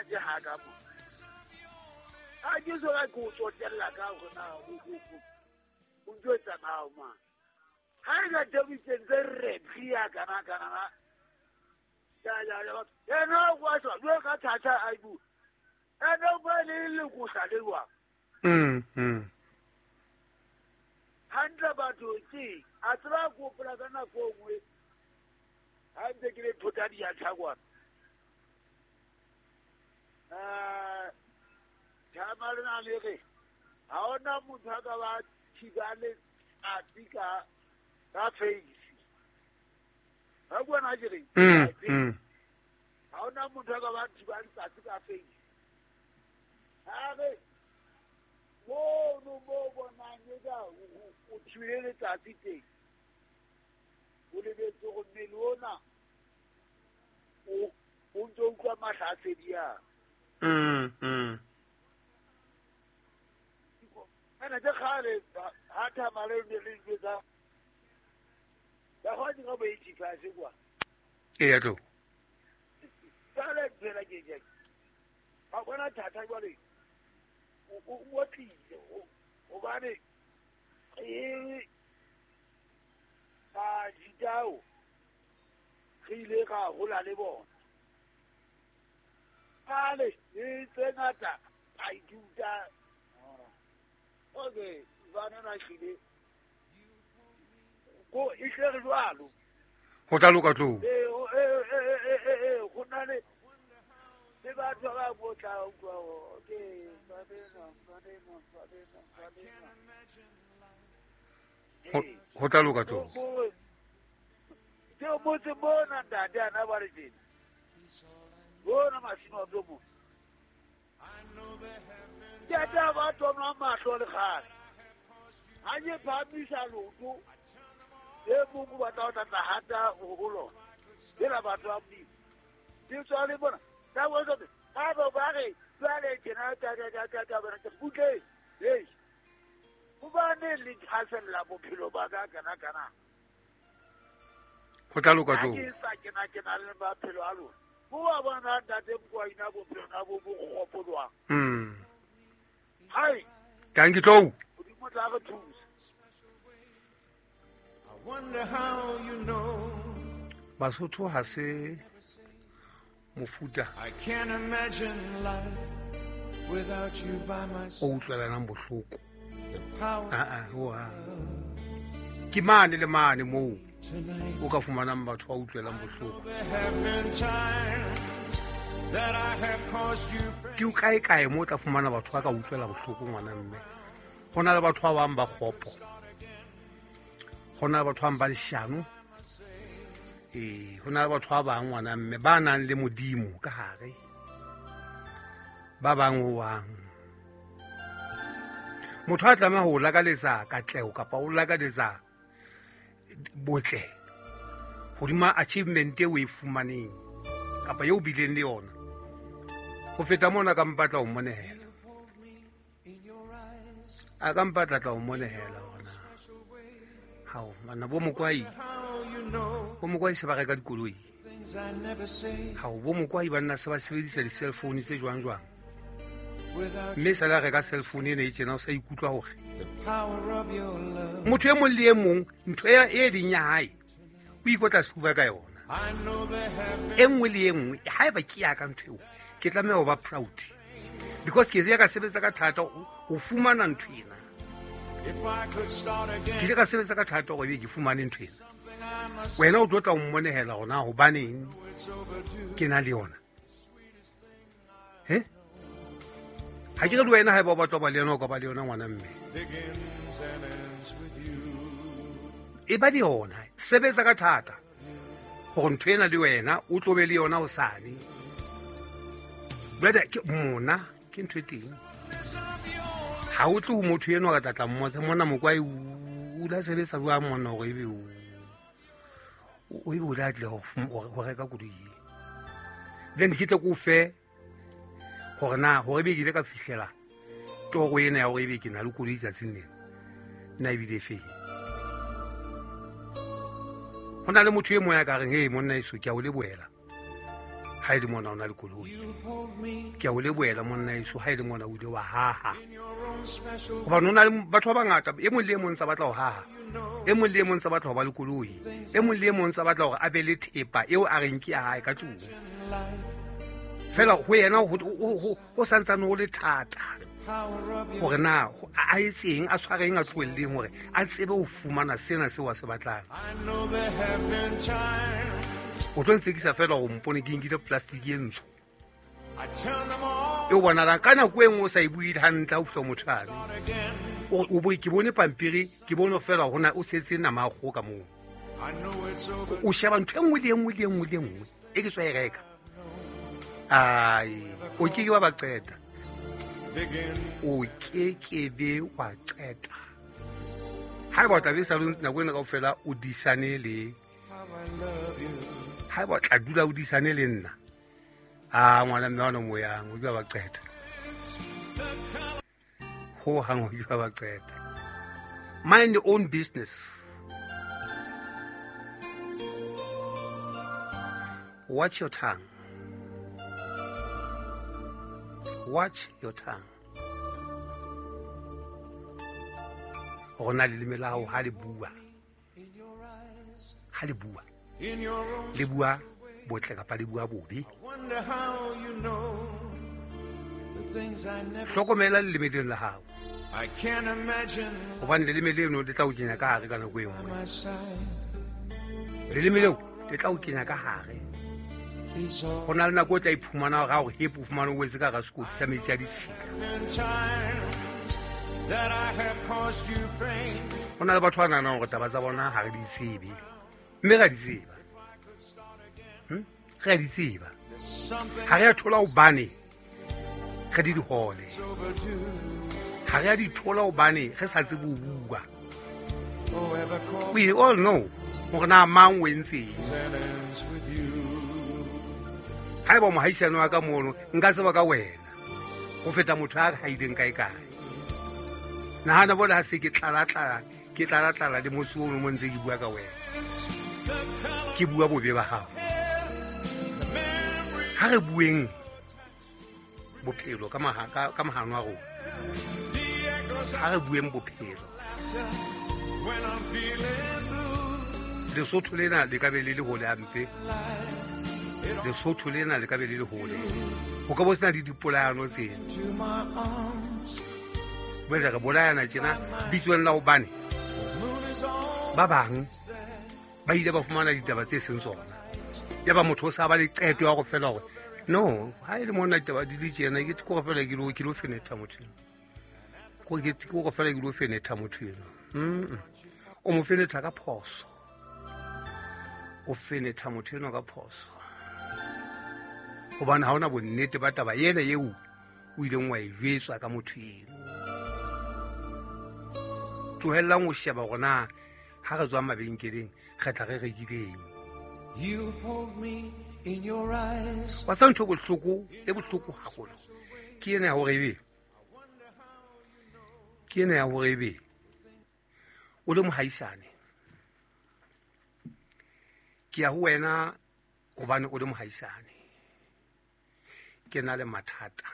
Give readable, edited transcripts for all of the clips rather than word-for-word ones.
ke ha ka mo. Ha ke so ka go tsotella ka hore na o njwetsa na o mang. Ha e ka tebitseng tse re phia kana kana na. Ya ya ya. Ena wa tswa jwe ka thatha a ibu. Ena o ba le le go sa le wa. Hantle batho ke a tseba go pola ka nako nngwe. Ha ntse ke le thota di ya tshakwana. Thamalena le re ha ona motho a ka ba thiba le tsatsi ka ka face. Ha bona ke re. Ha ona motho a ka ba thiba le tsatsi ka face. Ha re mo no mo bona nka o thibile letsatsi teng. O lebetse go mmele ona o ntse o utlwa mahlasedi a. Ana tse kgale ha thamale ne le jwetsa. Ba go dira bo 85 kwa. Ee tlo. Tsale phela ke ke. Ha bona thata jwale. O tlile hobane e ba jitao re ile ra hola le bona. Ale e tse ngata a ithuta. Okay, bana na hlile. Go e tle re jwalo. Ho tla loka tlo. Go na le batho ba go tla utlwa okay, ba bena. Ho tla loka tlo. Ke motse mona ntate ana ba re tjena. Bona masimo a tlo mo. Ke tla ba tona mahlo le kgale. Ha ke phamisa loto e mong ba tla tla hata ho lona. Ke la batho ba Modimo. Ke tswa le bona. Ka go tsote. Ha ba ba re jwale tjena ta ta ta ta bona ke butle. Hey. Hobane le thasella bophelo ba ka kana kana. Ho tla loka tlo. Ke sa kena kena le maphelo a lona. Bo bona ntate mokwa ina bophelo na bo bo kgopolwa. Hai. Thank you tlo. Modimo tla re thusa. I wonder how you know. Basotho ha se mofuta. I can't imagine life without you by my side. O utlwelanang bohloko. The power. Wa. Ke mane le mane moo o ka fumanang batho ba utlwelang bohloko. Ke o kae kae mo tla fumana batho ba ka utlwela bohloko ngwana mme. Ho na le batho ba bang ba kgopo. Ho na le batho ba bang ba leshano. Ho na le batho ba bang ngwana mme ba nang le Modimo ka hare. Ba bang ho wang. Motho a tlameha ho lakaletsa katleho kapa o lakaletsa botle hodima achievement eo e fumaneng kapa eo bileng le yona. Ho feta mona ka mpatla ho monehela. A ka mpatla tla ho monehela hona. Hao bana bo mokwai. Bo mokwai se ba reka dikoloi. Hao bo mokwai ba nna se ba sebedisa di-cell phone tse jwang jwang. Mme sa la reka cell phone ena e tjena o sa ikutlwa hore motho e mong le e mong ntho e leng ya hae o ikotla sefuba ka yona. E nngwe le e nngwe haeba ke ya ka ntho eo ke tlameha ho ba proud because ke ya ka sebetsa ka thata ho fumana ntho ena. Ke ile ka sebetsa ka thata hore ke fumane ntho ena. Wena o tlo tla o mmonehela hona hobaneng ke na le yona. He? Ha ke re le wena haeba o batla ho ba le yona o ka ba le yona ngwana mme. E ba le yona, sebetsa ka thata hore ntho ena le wena o tlo be le yona hosane. Jwale ke mona ke ntho e teng. Ha o tle ho motho enwa ka tla mmotsa mona mokwai o la sebetsa jwang mona hore ebe o ebe o la tle ho reka koloi. Then ke tle ke o fe hore na hore ebe ke ile ka fihlela toro ena ya hore ebe ke na le koloi tsatsing lena nna ebile e feng. Ho na le motho e mong ya ka reng, hey monna eso ke a o lebohela. Ha e le mona o na le koloi, ke a o lebohela monna eso ha e le mona o ile wa haha, gobane o na le batho ba bangata, e mong le e mong tsa batla ho haha, e mong le e mong tsa batla ho ba le koloi, e mong le e mong tsa batla hore a be le thepa eo a reng ke ya hae ka tlung. Fela ho yena ho santsane ho le thata hore na a etseng, a tshwareng, a tlohelleng hore a tsebe ho fumana sena seo a se batlang. O tlo ntsekisa fela gore mpone ke nkile plastic e ntsho e o bonalang ka nako e nngwe o sa e buile hantle ha o fihla motho ane. O bo ke bone pampiri, ke bone fela hore o setse nama ya kgoho ka moo. O sheba ntho e nngwe le e nngwe le e nngwe le e nngwe e ke tswa e reka. Ai, o ke ke wa ba qeta. O ke ke be wa qeta. Haeba o tla be sa le nako ena kaofela o disane le, haeba o tla dula o disane le nna, a ngwana mme wa no moyang, o ke ba qeta. Ho hang o ke ba qeta. Mind your own business. Watch your tongue. Watch your tongue. Rona leleme la hao ha le bua. Ha le bua. Le bua botle kapa le bua bobe. Hlokomela leleme leno la hao. Hobane leleme leno le tla o kenya ka hare ka nako e nngwe. Leleme leo le tla o kenya ka hare. Ho na le nako o tla iphumana hore ha o hepe o fumane o wetse ka hara sekoti sa metsi a ditshila. Ho na le batho ba nahanang hore taba tsa bona ha re di tsebe, mme ra di tseba. Re a di tseba. Ha re a thola hobane re di dihole. Ha re a di thola hobane re sa tsebe ho bua. We all know hore na mang o entseng. Haeba mohaisane wa ka mono, nka tseba ka wena ho feta motho a haileng kae kae. Nahana bona ha se ke tlala-tlala, ke tlala-tlala le motse ono mo ntse ke bua ka wena. Ke bua bobe ba hao. Ha re bueng bophelo ka mahano a rona. Ha re bueng bophelo. Lesotho lena le ka be le le hole hampe. Lesotho lena le ka be le le hole. Ho ka bo sena le dipolayano tsena. Jwale re bolayana tjena bitsong la hobane ba bang ba ile ba fumana ditaba tse seng tsona. Ya ba motho o sa ba le qeto ya go fela hore no, ha e le mona ditaba di le tjena, ke go fela ke lo fenetha motho eno. Ko ke go fela ke lo fenetha motho eno. O mo fenetha ka phoso. O fenetha motho eno ka phoso. Hobane ha hona bonnete ba taba ena eo o ileng wa e jwetswa ka motho eno. Tlohellang ho sheba hore na ha re tswa mabenkeleng re tla re rekileng. You hold me in your eyes. Wa tseba ntho e bohloko, e bohloko haholo. Ke ena ya hore ebe. Ke ena ya hore ebe. O le mohaisane. Ke ya ho wena hobane o le mohaisane. Ke na le mathata.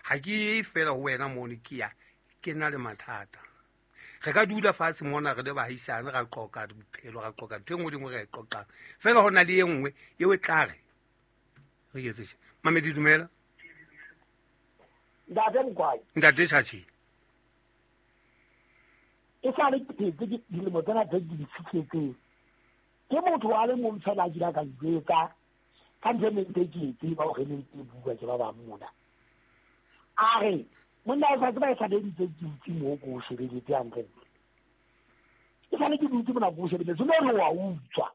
Ha ke ye fela ho wena mono ke ya, ke na le mathata. Re ka dula fatshe mona re le bahaisane, ra qoqa bophelo, ra qoqa ntho e nngwe le nngwe re e qoqang. Fela ho na le e nngwe eo e tla re, re etse tje. Mamedi, dumela. Ntate Mokwai. Ntate Tjhatjhe. E sa le ke phetse ke dilemo tsena tse ke di fihletseng. Ke motho a le mong fela a kile ka njwetsa, ka ntho e neng ntse ke e tseba hore ne ntse e bua ke ba bang mona. A re, monna o sa tseba e sa le ntse ke dutse moo ke o shebeletse hantle. E sa le ke dutse mona ke o shebeletse, mme re wa utswa.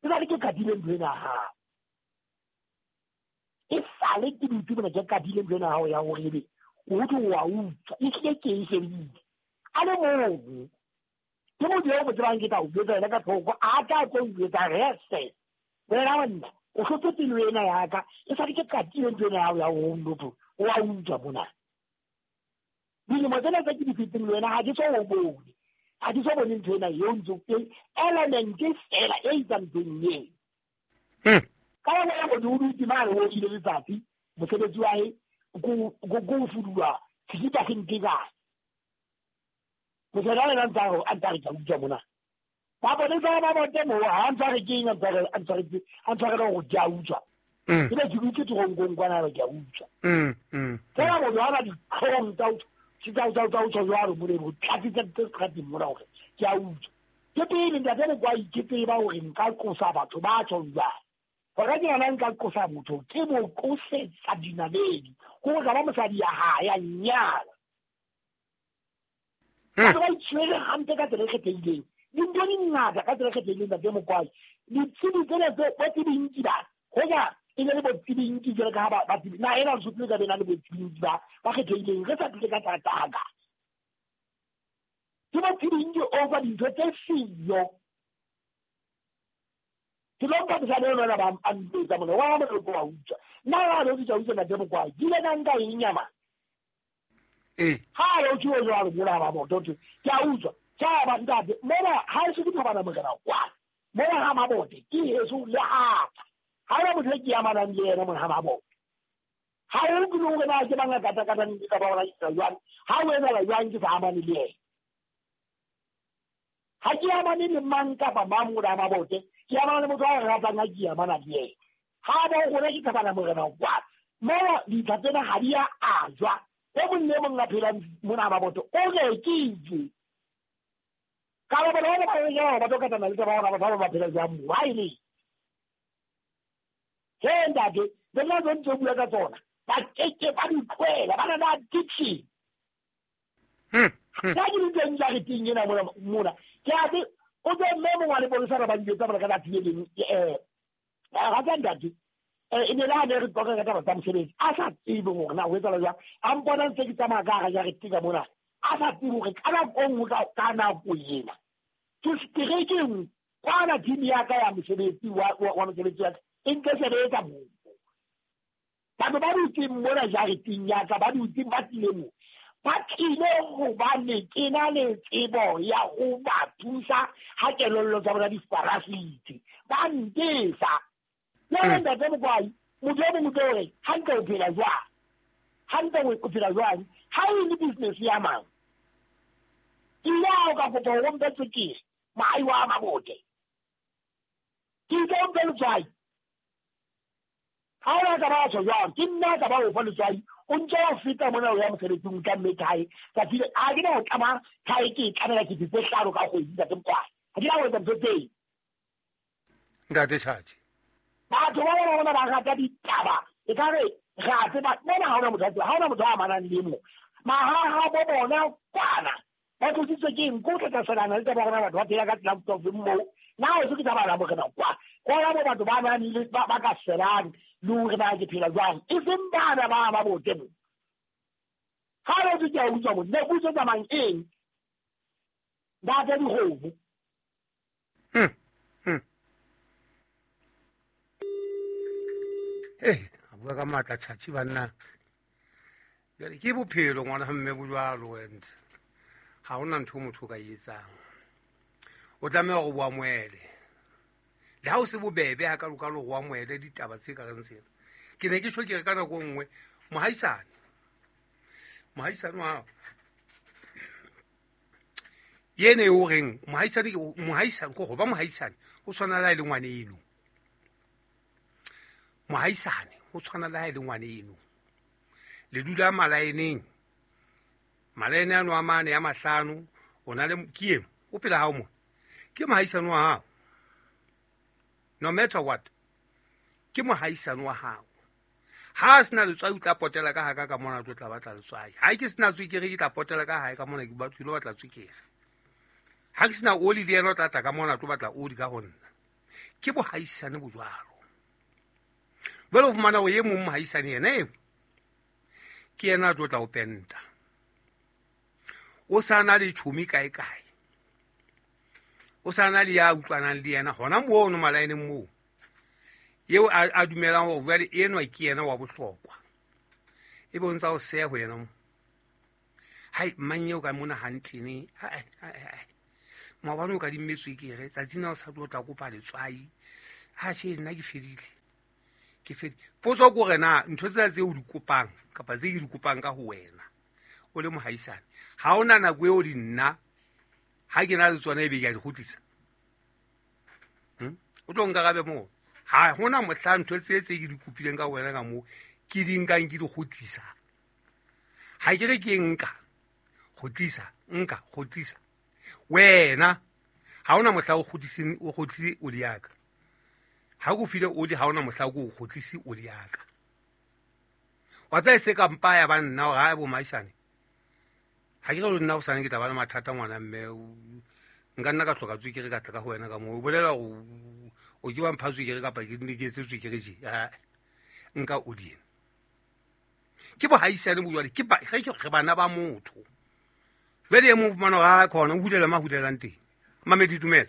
E sa le ke kadile ntho ena ya hao. E sa le ke dutse mona ke kadile ntho ena ya hao ya hore ebe o utlwe wa utswa. E hlile ke e shebile. A le mong. Ke motho eo mo tsebang ke tla o jwetsa yena ka thoko, a tla tlo njwetsa reste. Wena monna, o hlotse pelo ena ya ka. E sa le ke qatile ntho ena ya hao ya ho motho, o wa utswa mona. Dilemo tsena tse ke di feteng le wena ha ke so o bone. Ha ke so bone ntho ena eo ntse e element fela e itsang ntho eo. Ka yona ya Motho o dutse mane o ile letsatsi mosebetsi wa hae ko fudulwa sekipa se nke kae. Mosadi a lena a ntse a re ke a utswa mona. Maponesa ba bote moo ha a ntshware ke eng a ntshwarele gore ke a utswa. Ke be ke dutse teronkong kwana ke a utswa. Fela motho ha na ditlhong tsa utswa jwalo mole ho tlatsitse tse seterateng mona hore ke a utswa. Ke pele ntate Mokwai ke tseba hore nka qosa batho ba tjhong jwang. Hore ke yona nka qosa motho ke mo qosetsa dinaledi. Ko ka ba mosadi ya hae ya nyala. Batho ba itshwere hampe ka tsela e kgethehileng. Dintho di ngata ka tsela e kgethehileng ntate Mokwai. Ditsebi tsena tse botsebintsi ba hoja e le botsebintsi jwalo ka ha ba tsebi na ena Lesotho le ka bena le botsebintsi ba kgethehileng re sa tlile ka tlataka. Ke botsebintsi over dintho tse siyo. Ke lo nka mosadi eno ena ba a mpetsa mona wa mo re ko wa utswa. Nna ha re utswa utswa ntate Mokwai ke ile ka nka eng nyama. Ha re utswa jwalo mona ba mo ke a utswa. Tjha ntate mona ha e se ke thabana morena kwa. Mona ha Mabote ke heso le hata. Ha ena motho e ke amanang le yena mona ha Mabote. Ha o ke le hore na ke banga kata kata ke ka ba hona ke jwang. Ha o etsa jwang ke sa amane le yena. Ha ke amane le mang kapa mang mona ha Mabote. Ke amana le motho a ratang ha ke amana le yena. Ha ba hore ke thabana morena kwa. Mona ditha tsena ha di a ajwa. E mong le mong a phelang mona ha Mabote o rekile. Ka ba bona ba re ba tlo katana le taba hore batho ba phela jwang mo ha ile. He ntate, le nna ntse bua ka tsona. Ba keke ba di tlohela, ba na le addiction. Ka ke dintho tsa re teng ena mona. Ke a be o tlo mme mongwe le bontsha ba dijotsa ba ka tsatsi le leng ga tsa ntate. E ne la ne re qoqa ka taba tsa mosebetsi. A sa tsebe hore na ho etsahala jwang. A mpona ntse ke tsamaya ka hara jarete ka mona. A sa tsebe hore ka nako e nngwe ka nako ena. Ke seterekeng kwana team ya ka ya mosebetsi wa mosebetsi wa ka e nke sebetsa moo. Batho ba dutseng mona jareteng ya ka ba dutseng ba tlile moo. Ba tlile hobane ke na le tsebo ya ho ba thusa ha kelello tsa bona di farasitse. Ba ntesa. Jwale ntate Mokwai, motho e mong o tlo re hantle o phela jwang? Hantle o phela jwang? Ha e le business ya mang? Ke ile ha o ka kopa hore o mpe tswekere, moahi wa Mabote. Ke itse o mpe letswai. Ha o ka ba tjho jwang? Ke nna ka ba o fa letswai. O ntse o feta mona o ya mosebetsing o tla mme thae. Tsatsi le a ke na ho tlama thae ke e tlamela ke tse hlano ka kgwedi ntate Mokwai. Ha ke na ho etsa ntho tseo. Ntate Tjhatjhe. Batho ba bona ba rata ditaba. E ka re ra tseba mona ha hona motho ha hona motho a amanang le mo. Mahaha bo bona kwana. Ba tlositswe ke eng? Ko tla tlaselana le taba hore batho ba phela ka tsela e moo. Na o se ke taba la morena kwa. Kwana bo batho ba nang le ba ka selang le hore na ke phela jwang. E seng bana ba Mabote mo. Ha re ke a utswa mo. Ne go tsamang eng? Ba tla dikgomo. A bua ka matla Tjhatjhe banna. Jwale ke bophelo ngwana ha mme bo jwalo and ha hona ntho motho o ka e etsang. O tlameha hore o amohele. Le ha o se bobebe ha ka loka le ho amohele ditaba tse ka reng tsena. Ke ne ke tjho ke re ka nako e nngwe mohaisane. Mohaisane wa hao. Yene o reng mohaisane mohaisane ko go ba mohaisane o tshwana le ha e le ngwaneno. Mohaisane o tshwana le ha e le ngwaneno. Le dula malaeneng. Malaene ano a mane a mahlano o na le ke eng o pela hao mo. Ke mohaisane wa hao. No matter what. Ke mohaisane wa hao. Ha a sena letswai o tla potela ka haka ka mona tlo tla batla letswai. Ha ke sena tswekere ke tla potela ka hae ka mona ke batlo lo batla tswekere. Ha ke sena oli le yena o tla tla ka mona tlo batla oli ka ho nna. Ke bohaisane bo jwalo. Jwale o fumana hore e mong mohaisane yena eo ke yena a tlo tla o penta. O sa na le tjhomi kae kae. O sa na le ya utlwanang le yena hona mono malaeneng moo. Eo a dumelang hore jwale enwa ke yena wa bohlokwa. E bontsha ho seha ho yena mo. Hai mang eo ka mona hantle ne. Hai. Maobane o ka dimme tswekere tsatsing la o sa tlo tla kopa letswai. Ha tjhe nna ke fedile. Ke fedi potso ko re na ntho tsena tse o di kopang kapa tse ke di kopang ka ho wena o le mohaisane, ha ona nako eo di nna ha ke na le tsona ebe ke a di kgutlisa. O tlo nkarabe moo. Ha hona mohla ntho tse tse ke di kopileng ka wena ka moo ke di nkang ke di kgutlisa. Ha ke re ke nka kgutlisa, nka kgutlisa. Wena ha ona mohla o kgutliseng o kgutlise oli ya ka. Ha go file oli ha ona mohla o kgutlise oli ya ka. Wa tsa se ka mpa ya ba nna hore ha bo maisane. Ha ke re nna o sane ke tla ba le mathata ngwana mme nka nna ka hloka tswekere ka tla ka ho wena ka moo. O bolela hore o ke wa mpha tswekere kapa ke nne ke etse tswekere je. Nka oli ena. Ke bohaisane bo jwale ke ba re bana ba motho. Jwale e mong fumana hore ha khona o hulela ma hulelang teng. Mamedi dumela.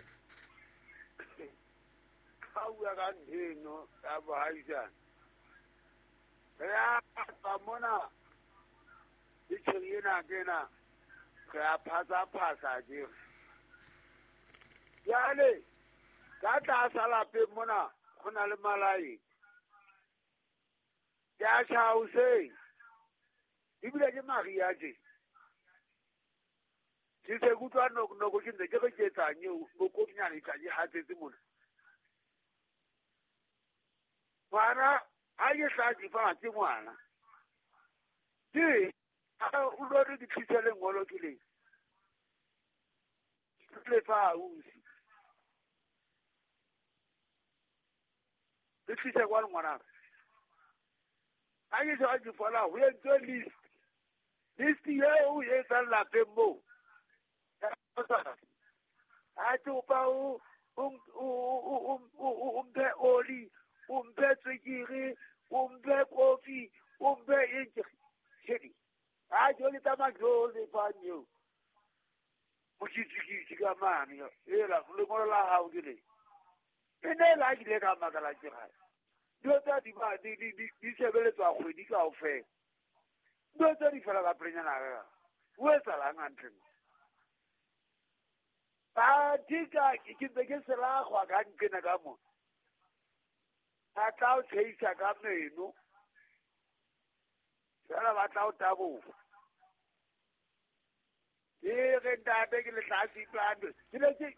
Ha bua ka ntho ya bohaisane. Re a tswa mona ditjheng ena kena re a phasa ke. Jwale ka tlasa lapeng mona ho na le malai. Ke a tjha hoseng. Ebile ke mariha tje. Ke se kutlwa noko ke ntse ke re ke etsang eo bokonyane tla ke hatsetse mona. Ngwana ha ke hlatse fatshe ngwana. Ke o lo re ke tlise lengolo ke le. Ke le fa ausi. Ke tlise kwa ngwana. Ha ke se ke fola ho entswe list. List eo e etsang lapeng moo. Ha tsopa o mphe oli, o mphe tswekere, o mphe kofi, o mphe eng. Ha jole tsamaya ke o lefang eo. Mokitsikitsi ka mane ela lengolo la hao ke le. E ne la ke ile ka makala ke gae. Dilo tsa di ba di di sebeletswa kgwedi kaofela. Dilo tsa di fela ka pelenyana ka. O etsalang hantle? Ba dika ke ntse ke selagwa ka nkena ka mo. Ba tla o tshehisa ka meno. Fela ba tla o taboha. Ke re ntate ke letlasi plano. Ke ne ke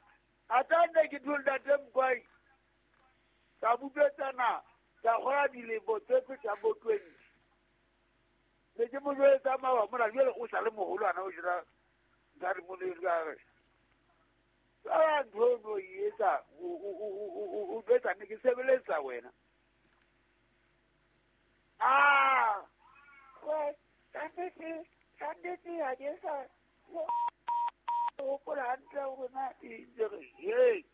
ata nne ke dule ntate Mkwai. Ka bubetsana ka gola dilemo tse fetang bo 20. Ne ke mo jwetsa mawa mona jwale o sa le moholwana o jira ntate mo le ka re. A ntho no etsa o betsa ne ke sebeletsa wena. Ah, kannete ha ke sa hopola hantle hore na e re hey.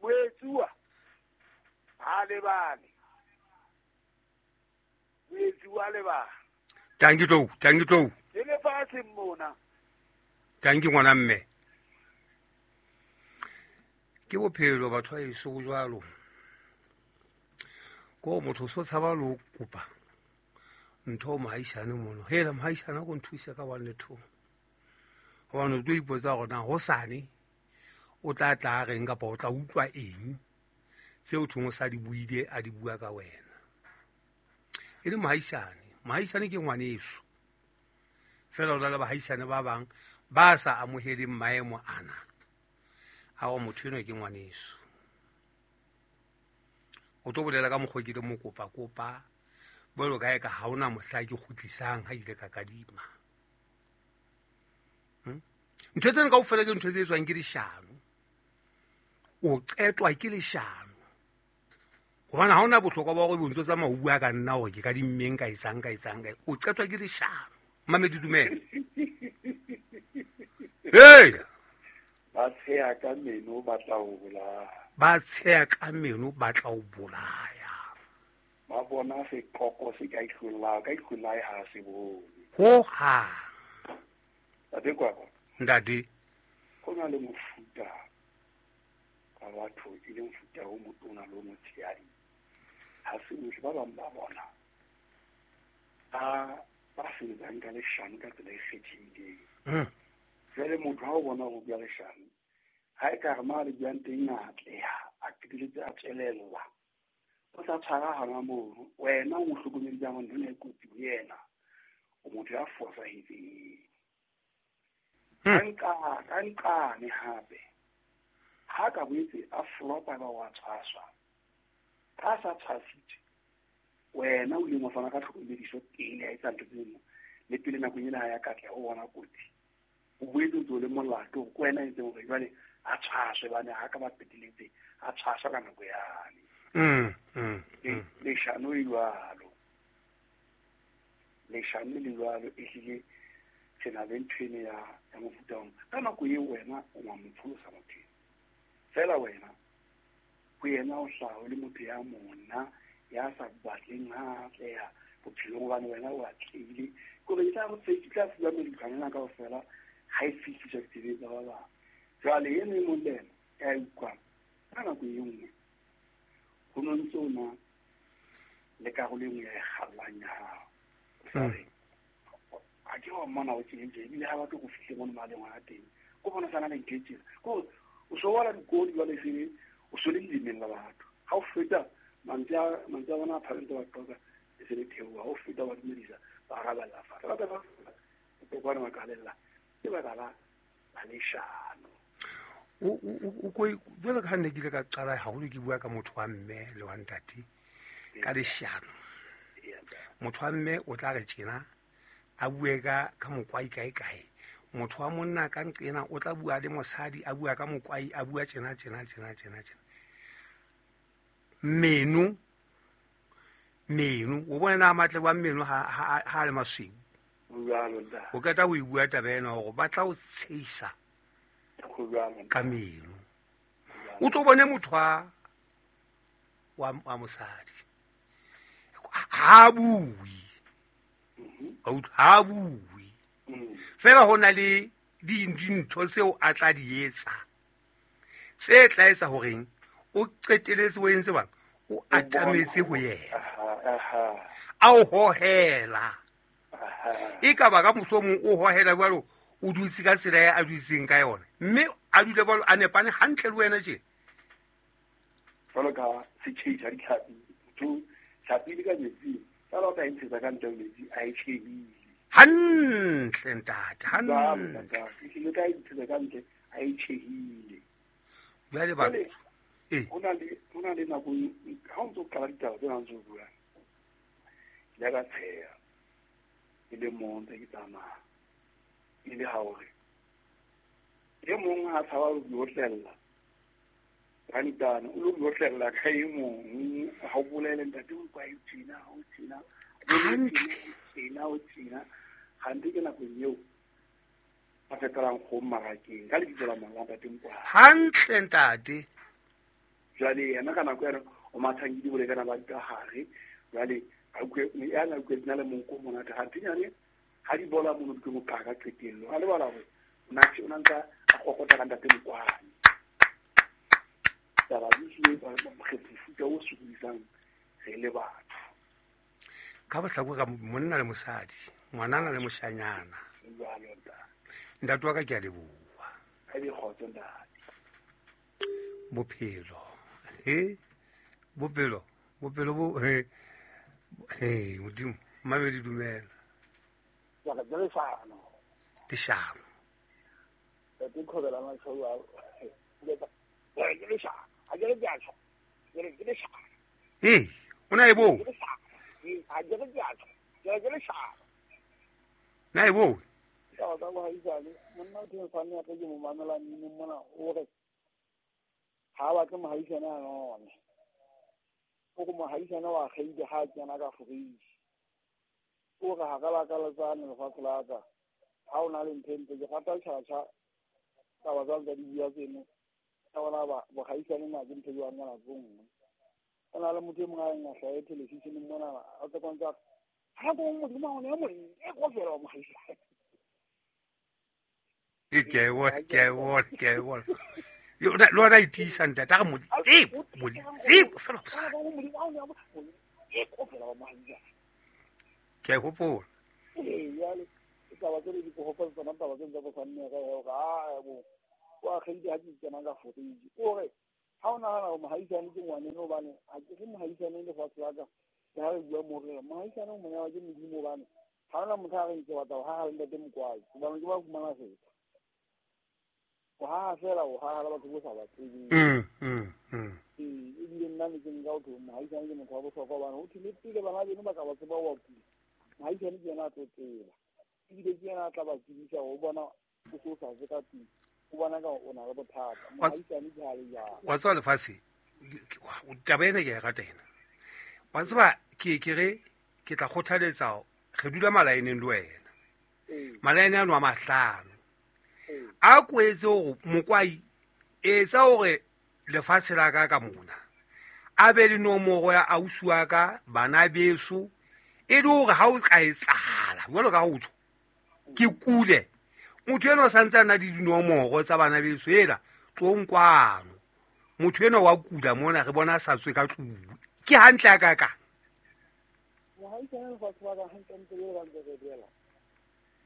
Moetsuwa ha lebale. Moetsuwa lebale. Tanki tlou, tanki tlou. Ke lefatshe mona. Tanki ngwana mme. Ke bophelo batho ba eso jwalo. Ko motho so tshaba lo kopa ntho mohaisane mono. Hela mohaisane go nthusa ka 1 le 2. Hobane o tlo ipotsa hore na hosane o tla tla reng kapa o tla utlwa eng tseo thong o sa di buile a di bua ka wena. E le mohaisane, mohaisane ke ngwaneso. Fela o na le bahaisane ba bang ba sa amoheleng maemo ana. A o motho eno ke ngwaneso. O tlo bolela ka mokgwa ke le mokopa kopa bolo kae ka ha ona mohla ke kgutlisang ha ile ka kadima. Ntho tsena kaofela ke ntho tse etswang ke leshano. O qetwa ke leshano. Hobane ha ona bohlokwa ba hore bo ntso tsamaya o bua ka nna hore ke kadimmeng ka etsang ka etsang ka. O qetwa ke leshano. Mamedi dumela. Hey! Ba tsheha ka meno ba tla o bolaya. Ba tsheha ka meno ba tla o bolaya. Ba bona seqoqo se ka ihlolla, ka ihlolla ha se bone. Ho ha. Ntate Kwakwa. Ntate. Ho na le mofuta wa batho e leng mofuta o motona le o motshehadi. Ha se bohle ba bang ba bona ba sebetsang ka leshano ka tsela e kgethehileng. Jwale motho ha o bona ho bua leshano, ha e ka re ma le buang teng a atleha, a a qetelletse a tswelella o sa tshwara hona mono wena o mo hlokomedisang hore ntho ena e kotsi ho yena o motho ya fosahetseng. Ka nqane hape ha ka boetse a flopa ba wa tshwaswa ka sa tshwasitswe wena o ileng wa fana ka tlhokomediso pele a etsa ntho tseno le pele nakong ena ha ya katleha o bona kotsi o boetse o ntse o le molato ke wena entseng hore jwale a tshwaswe bane ha ka ba qeteletse a tshwaswa ka nako yane. Leshano e jwalo leshano le jwalo ehlile re na le ntho ene ya mofuta ona ka nako eo wena o wa mo pholosa motho fela wena ho yena o hlaha o le motho ya mona ya sa batleng ha atleha bophelong hobane wena o atlehile kore e tla tla fuwa meditlhwana ena kaofela ha e fihliswa ditsebeng tsa ba bang. Jwale eno e mong le ena ya utlwang ka nako e nngwe ho no ntse o na le karolo e nngwe ya e kgallang ya hao o sa re a ke wa mmona o tjena ebile ha batle go fihle mono maleng hona teng ko bona sana le ntho e tjena kore o so wala dikodi jwale se o so le lelemeng la batho ha o feta mantswe a bona a phalentse ba qoka e se le theoha ha o feta ba dumedisa ba arabella fatshe ba tla kwana ba qalella ke baka la leshano. O ko jwalo ka ha nne ke ile ka qala haholo ke bua ka motho wa mme le wa ntate ka leshano. Motho wa mme o tla re tjena a bue ka mokwai kae kae motho wa monna ka nqena o tla bua le mosadi a bua ka mokwai a bua tjena tjena tjena tjena tjena meno o bona na matle wa meno ha le masweu o qeta ho e bua taba ena hore ba tla o tsheisa ka meno o tlo bone motho wa mosadi ha bue ha bue fela ho na le dintho tseo a tla di etsa tse tla etsa horeng o qeteletse o entse bang o atametse ho yena a o hohela e ka ba ka mohlomong o hohela jwalo o dutse ka tsela ya a dutseng ka yona mme a dule jwalo a nepane hantle le wena tje jwalo ka setjhei sa ditlhapi motho tlhapi le ka metsing fela o ka e ntshetsa ka ntle ho metsi a e tjhehile hantle ntate hantle ehlile ka e ntshetsa ka ntle a e tjhehile jwale ba ho na le nako ha o ntso qala ditaba tsena ntse o buang ke ile ka tsheha e le mong ntse ke tsamaya e le ha hore e mong ha tshaba ho diotlella rantana o lo diotlella ka e mong ha o bolele ntate o kwa e tjena o tjena tjena o tjena gante ke nakong eo a fetolang go mmarakeng ka lebitso la monna ntate Mokwa hantle ntate. Jwale yena ka nako ena o mathang ke dibolekana ba ka hare jwale a utlwe ya na utlwe na le monko monate gante nyane ha di bola mono ke mo qaka qetello a lebala hore o na ntsa a kokota ka ntate Mokwane taba di hlile ba mofuta o sokodisang re le batho ka bohlako ka monna le mosadi ngwanana le moshanyana ntate wa ka ke a leboha a be kgotso ntate bophelo he bophelo bophelo bo he he modimo mmamedi dumela ya ka leshano leshano ke khobela matsholo a ke leshano a ke le tjho ke leshano ee o na e bo a ke le tjho ke leshano na e bo taba tsa bohaisane monna o teng sane ya ke mo mamela mmino mona o re ha ba tle mohaisane a none o go mohaisane wa kgeile ha tsena ka forisi o re ha ka la ka letsane lefatshe la ka ha o na le ntho ntse ke rata tjhatjha taba tsa tsa di bua tseno ka bona ba bohaisane na ke ntho jwang ka nako nngwe o na le motho e mongwe a eng a hlahe televisioneng mona a tsa kwantsa ha go modimo a one e mong e go fela wa mohaisane ke bona le ona e tiisa ntate a re modimo fela bosadi ke a hopola ee jale taba tsele di go tsona taba tse tsa bosanne ka hore a bo wa kgeile ha ke tsena ka foriji o re Ha o nahana hore mohaisane ke ngwaneno hobane ha ke re mohaisane lefatshe la ka ke ha re bua mo re mohaisane o monyawa ke Modimo hobane ha hona motho a reng ke batla ho haha le ntate Mokwai hobane ke ba fumana feta. O haha fela o haha le batho bo sa ba tsebeng. Ee, ebile nna ne ke nka ho thwe mohaisane ke motho wa bohlokwa hobane ho thwe le pele bana beno ba ka ba tseba wa kula. Mohaisane ke yena a tlo tseba. Ebile ke yena a tla ba tsebisa hore o bona o se o sa tswe ka tlung. O bona ka o na le bothata. Mohaisane ke ha le jwalo. Wa tseba lefatshe, taba ena ke a e rata ena. Wa tseba ke ke re ke tla kgothaletsa re dula malaeneng le wena. Malaene ano a mahlano. A ko etse hore Mokwai etsa hore lefatshe la ka ka mona a be le nomoro ya ausi wa ka bana beso e le hore ha o ka etsahala jwalo ka ho tjho ke kule motho enwa o santse a na le dinomoro tsa bana beso ela tlong kwano motho enwa wa kula mona re bona a sa tswe ka tlung ke hantle a ka kang. Mohaisane lefatshe la ka hantlentle jwalo ka ntse re bolela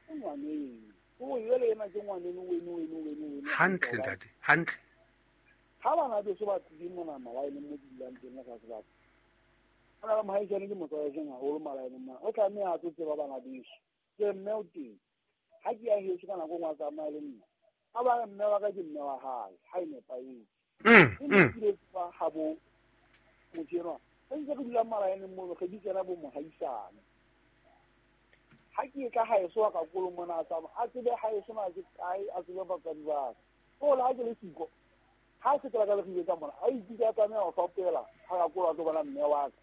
ke ngwaneno o jwale ena ke ngwaneno weno weno weno weno hantle ntate hantle. Ha bana beso ba tlile mona malaeneng mo ke dulang teng lefatshe la ka o na le mohaisane ke motswaletseng haholo malaeneng mona o tlameha a tlo tseba bana beso ke mme o teng ha ke ya heso ka nako e nngwe a tsamaya le nna a ba re mme wa ka ke mme wa hae ha e nepahetse. Ke ne ke ile tseba ha bo motho enwa re ntse re dulang malaeneng mono re bitsana bo mohaisane. Ha ke etla haeso wa ka kolo mona a tsamaya a tsebe haeso na ke kae a tsebe batswadi ba ka. O le ha ke le siko ha se ka le ka mona a ikutlwa a tlameha ho fapela ha ka kolo a tlo bona mme wa ka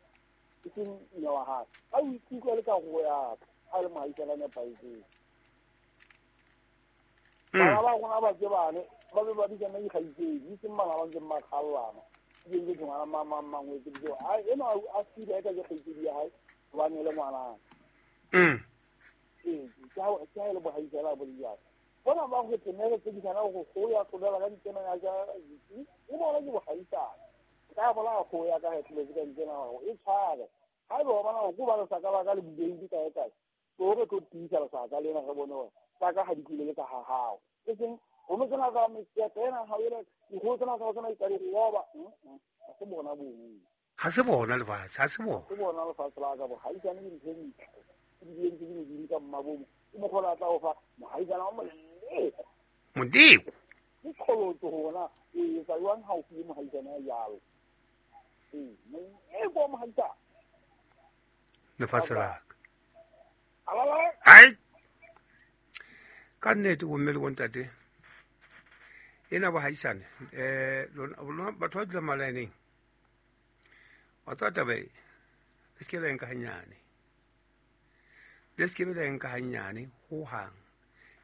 e seng mme wa hae. A ikutlwa le karolo ya ka ha e le mohaisane a nepahetseng. Bana ba rona ba tsebane ba be ba bitsana dikgaitsedi e seng bana ba ntseng ba kgallana. Ke ntse ke ngwana mang mang mang o etseditse hore a enwa a feel-a eka ke kgaitsedi ya hae hobane e le ngwanaka. Ee, ke ha e le bohaisane a bo le jwalo. Bona ba ho mme re tsekisana hore kgoho ya tlolela ka ntsena ya ja e bona ke bohaisane. Ka bolaya kgoho ya ka ha e tloletse ka ntsena hore e tshware. Haeba o bona hore ke hobane lesaka la ka le bulehile kae kae, tlo re tlo tiisa lesaka lena re bone hore tsa ka ha di tlile le tsa ha hao. E seng ho tsena ka mekete ena ha ele dikgoho tsena tsa tsena di ka di roba. Ha se bona bono. Ha se bona lefatshe, ha se bona. Se bona lefatshe la ka bohaisane ke ntho e ntle. E di entse ke Modimo ka mmabomo. Ke mokgwa o tla o fa mohaisane wa moleko. Moleko. Ke qholotso hona o etsa jwang ha o file mohaisane ya jwalo. Ee, moleko wa mohaisane. Lefatshe la ka. Alala. Hai. Ka nnete bomme le bontate ena bohaisane lona batho ba dulang malaeneng wa tseba taba e le se ke la e nka hanyane le se ke be la e nka hanyane hohang.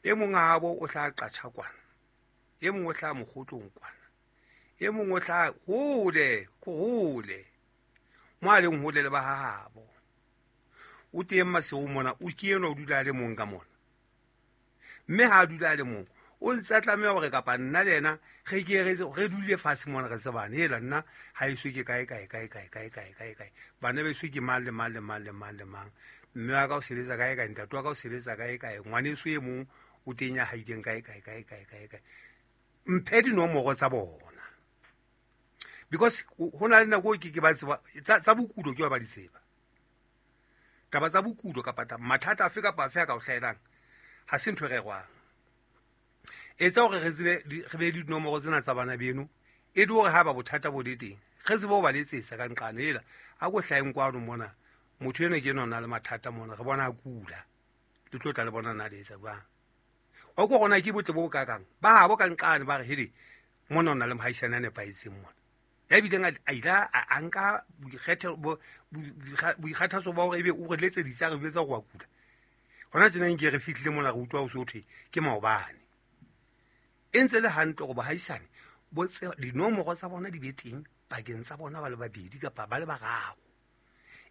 E mong a bo o tla qatjha kwana, e mong o tla mokgotlong kwana, e mong o tla hole ko hole mo a leng hole le ba hahabo. O teng Maseru mona o ke enwa o dula a le mong ka mona. Mme ha a dula a le mong o ntse a tlameha hore kapa nna le yena re ke re dule fatshe mona re tsebane hela nna ha eso ke kae kae kae kae kae kae kae kae bana beso ke mang le mang le mang le mang le mang mme wa ka o sebetsa kae kae ntate wa ka o sebetsa kae kae ngwaneso e mong o teng ya haileng kae kae kae kae kae kae mphe dinomoro tsa bona because ho na le nako e ke ke ba tseba tsa bokulo ke ba di tseba taba tsa bokulo kapa mathata afe kapa afe a ka o hlahelang ha se ntho e rerwang. Etsa hore re tsebe re be le dinomoro tsena tsa bana beno e le hore ha ba bothata bo le teng re tsebe ho ba letsetsa ka nqane ela a ko hlaheng kwano mona motho enwa ke enwa o na le mathata mona re bona a kula le tlo tla le bona na le etsa jwang. Wa utlwa hore na ke botle bo bokakang ba habo ka nqane ba re hele mona o na le mohaisane a nepahetseng mona ya bileng a ile a nka boikgathatso ba hore ebe o re letseditse a re jwetsa hore wa kula. Hona tjena nke re fihlile mona re utlwa ho so thwe ke maobane. E ntse le hantle hore bohaisane bo dinomoro tsa bona di be teng pakeng tsa bona ba le babedi kapa ba le bararo.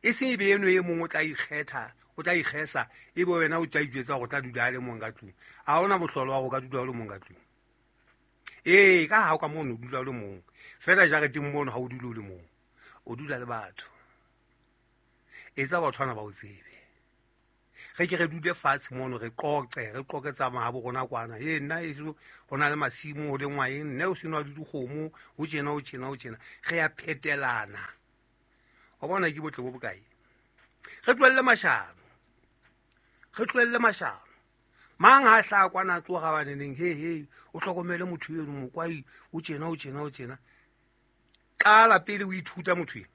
E seng ebe eno e mong o tla ikgetha, o tla ikgesa ebe wena o tla ijwetsa hore o tla dula a le mong ka tlung. Ha hona mohlolo wa hore o ka dula o le mong ka tlung. Ee, ka ha o ka mono o dula o le mong. Feela jareteng mono ha o dule o le mong. O dula le batho. Etsa batho bana ba o tsebe. Re ke re dule fatshe mono re qoqe, re qoqe tsa mahabo rona kwana. E nna e ho na le masimo ho lengwa eng, nna o seno di dikgomo, ho tjena ho tjena ho tjena. Re ya phetelana. Wa bona ke botle bo bokae? Re tlohelle mashano. Re tlohelle mashano. Mang ha hla kwana tloga baneneng he he o hlokomele motho eno mokwai o tjena o tjena o tjena. Qala pele o ithuta motho eno.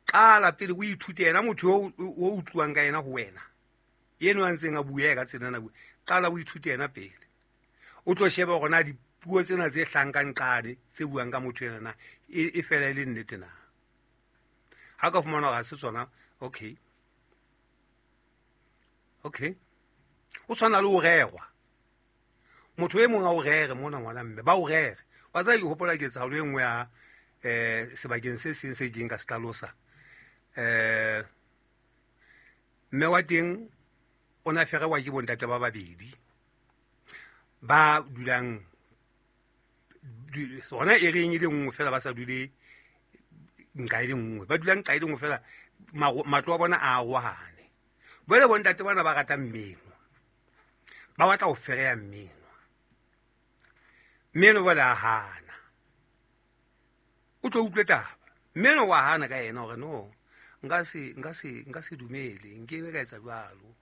Qala pele o ithute yena motho o utluwang ka yena ho wena. Eno a ntseng a bua ka tsena na bua. Qala o ithute yena pele. O tlo sheba hore na dipuo tsena tse hlankang qane tse buang ka motho ena na e fela e le nnete na. Ha ka fumana hore ha se tsona, okay. Okay. O tshwana le o rerwa. Motho e mong a o rere mona ngwana mme, ba o rere. Wa tseba ke hopola ketsahalo e nngwe ya sebakeng se seng se keng ka se hlalosa. Mme wa teng o na ferewa ke bontate ba babedi ba dulang hona e reng e le nngwe fela, ba sa dule nka e le nngwe, ba dulang nka e le nngwe fela, matlo a bona a arohane. Jwale bontate bana ba rata mmino, ba batla ho fereya mmino. Mmino jwale a hana, o tlo utlwe taba. Mmino wa hana ka yena hore no, nka se dumele, nkebe ka etsa jwalo.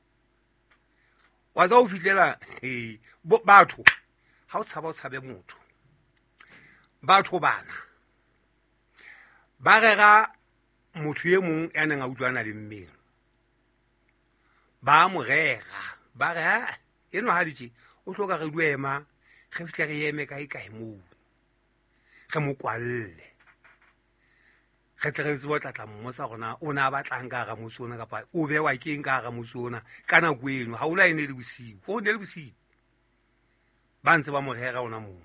Wa tsa ho fihlela batho, ha o tshaba o tshabe motho. Batho bana ba rera motho e mong ya neng a utlwana le mmino. Ba mo rera, ba re ha eno ha ditje o hloka re duema, re fihle re eme kae kae moo, re mo kwalle, re tle re tsebe ho tla mmotsa hore na o ne a batlang ka hara motse ona kapa o bewa keng ka hara motse ona ka nako eno. Haholo ha e ne le bosiu, ho ne le bosiu, ba ntse ba mo rera ona moo.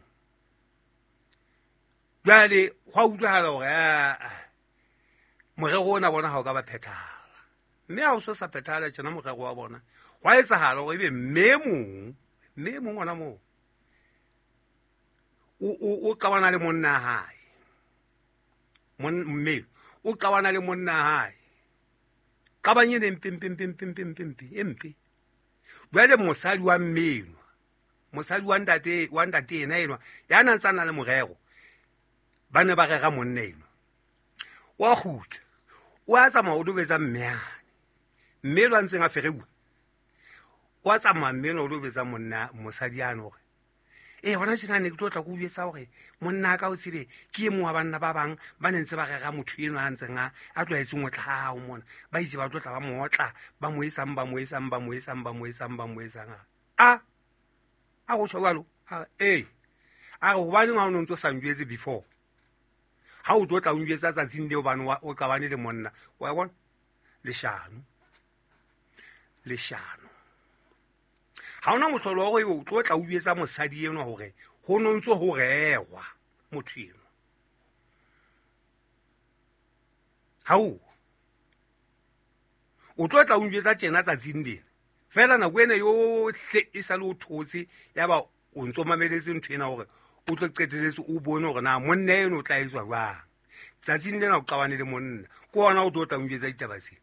Jwale ho a utlwahala hore morero ona bona ha o ka ba phethahala. Mme ha o so sa phethahala tjena morero wa bona, hwa etsahala hore ebe mme mong ona moo o qabana le monna hae. Mme o qabana le monna hae. Qabang ene mpe mpe mpe mpe mpe mpe mpe mpe. Jwale mosadi wa mme, mosadi wa ntate ena enwa ya nang tsana le morero, ba ne ba rera monna enwa. Wa kgutla, o a tsamaya o dobetsa mme ane. Mme lo a ntseng a fereuwa, o a tsamaya mme o dobetsa monna mosadi ane hore hona tjena ne ke tlo tla ko jwetsa hore monna ka o tsebe ke e mong wa banna ba bang ba ne ntse ba rera motho eno a ntseng a tlwaetseng ho tla ha hao mona. Ba itse ba tlo tla ba mo otla, ba mo etsang, ba mo etsang, ba mo etsang, ba mo etsang, ba mo etsang. A go tjho jwalo? A re hobaneng ha o no ntso sa njwetse before? Ha o tlo tla o njwetsa tsatsing leo hobane o qabane le monna. Wa bona? Leshano. Leshano. Ha ona mohlolo wa hore o tlo tla o jwetsa mosadi enwa hore ho no ntso ho rerwa motho enwa. Hao. O tlo tla o njwetsa tjena tsatsing lena. Fela nako ena yohle e sa le o thotse, ya ba o ntso mameletse ntho ena hore o tlo qeteletse o bone hore na monna eno o tla etswa jwang. Tsatsing lena o qabane le monna, ke ona o tlo tla o njwetsa ditaba tsena.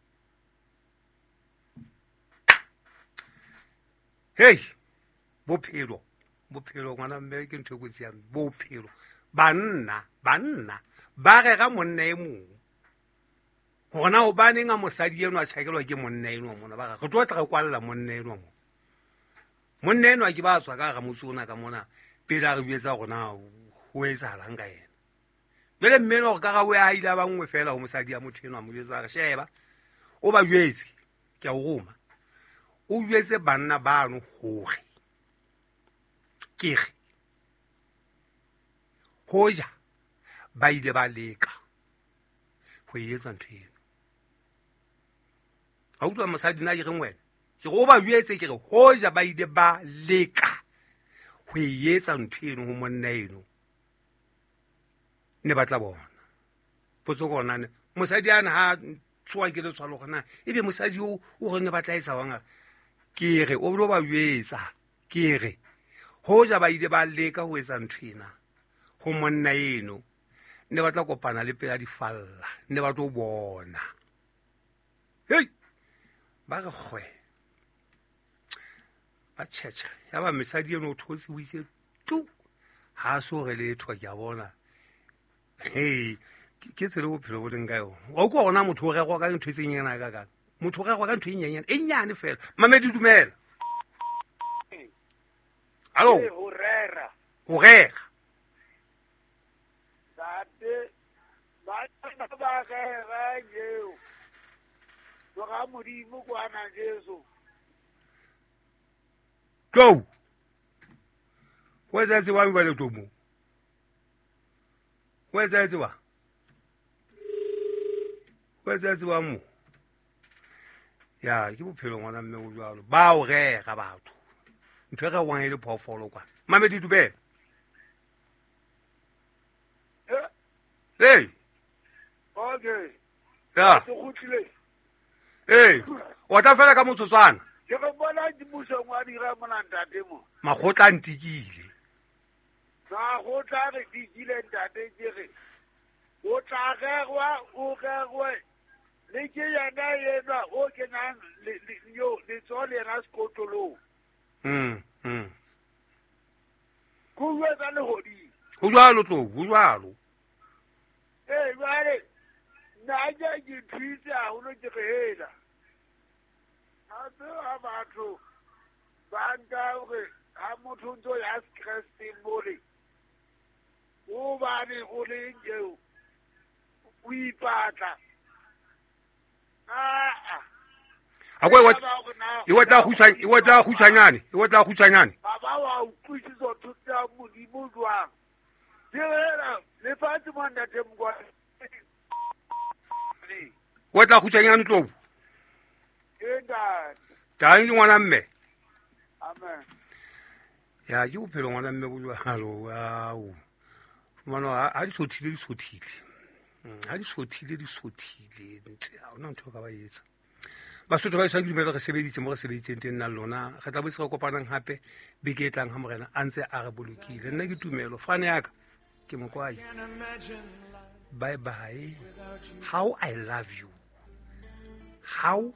Hey, bophelo, bophelo ngwana mme ke ntho e kotsi ya bophelo. Banna ba rera monna e mong. Hore na hobaneng a mosadi eno a tjhakelwa ke monna eno mona, ba re re tlo tla re kwalla monna eno mo. Monna eno a ke ba tswa ka hara motse ona ka mona pele a re jwetsa hore na ho etsahalang ka yena. Jwale mme eno hore karabo ya hae ile ya ba nngwe fela ho mosadi ya motho eno, a mo jwetsa a re sheba, o ba jwetse, ke a o roma. O jwetse banna bano hore ke re hoja ba ile ba leka ho etsa ntho eno. Ha utlwa mosadi na ke reng wena? Ke re o ba jwetse ke re hoja ba ile ba leka ho etsa ntho eno ho monna eno, ne ba tla bona. Potso ke hona mosadi ana ha tshoha ke letshwalo hore na ebe mosadi o re ne ba tla etsa wang? Ke re o lo ba jwetsa ke re hoja ba ile ba leka ho etsa ntho ena ho monna eno, ne ba tla kopana le pela difalla, ne ba tlo bona. Hei, ba re kgwe. Ba tšhetšha ya ba mesadi eno o thotse o itse tu ga a se gore letho ke a bona. Ee, ke tsele bophelo bo leng ka yona. Wa utlwa gona motho o rerwa ka ntho e tsenyana ka kang motho o rerwa ka ntho e nyenyane e nnyane fela. Mamedi dumela. Hallo. Ho rera. Ho rera. Ntate ba ba rera eo. Tloga Modimo kwana Jesu. Tlou. Ho etsahetse wa ba le tomo. Ho etsahetse wa. Ho etsahetse wa mo. Ya ke bophelo ngwana mme o jwalo. Ba o rera batho. Ntho e rerwang e le phoofolo kwa. Mamedi dumela. Hey. Okay. Ya. Ke kgutlile. Ee, o tla fela ka motsotswana. Ke re bona mmusong wa dira mona ntate mo. Makgotla a ntikile. Makgotla re tikile ntate ke re. O tla rerwa o rerwe. Le ke yena yenwa o kenang yo letsoho le yena sekotlolong. Go bua tsa lehodimo. Ho jwalo tlou, ho jwalo. Ee, jwale nna ke ke thuitse haholo ke re hela. A tseba batho ba nka hore ha motho o ntso ya Sekresteng mole o bane o le eo o ipatla. Aa. A ko e wa tla kgutshwanyane, e wa tla kgutshwanyane. Baba wa utlwisisa thuto ya Modimo jwang? Ke hela lefatshe mo ntate Mokwane. Wa tla kgutshwanyane tlou. Ke ntate. Tang ke ngwana mme. Amen. Ya ke bophelo ngwana mme bo jwalo. Ao. Fumana ha di sothile di sothile. Ha di sothile di sothile ntse ha ona ntho ka ba etsa. Basotho ba iswa ke dumela re sebeditse mo re sebeditseng teng nna le lona. Re tla boetse re kopanang hape beke e tlang ha morena a ntse a re bolokile. Nna ke tumelo fane ya ka ke mokwai. Bye bye. How I love you. How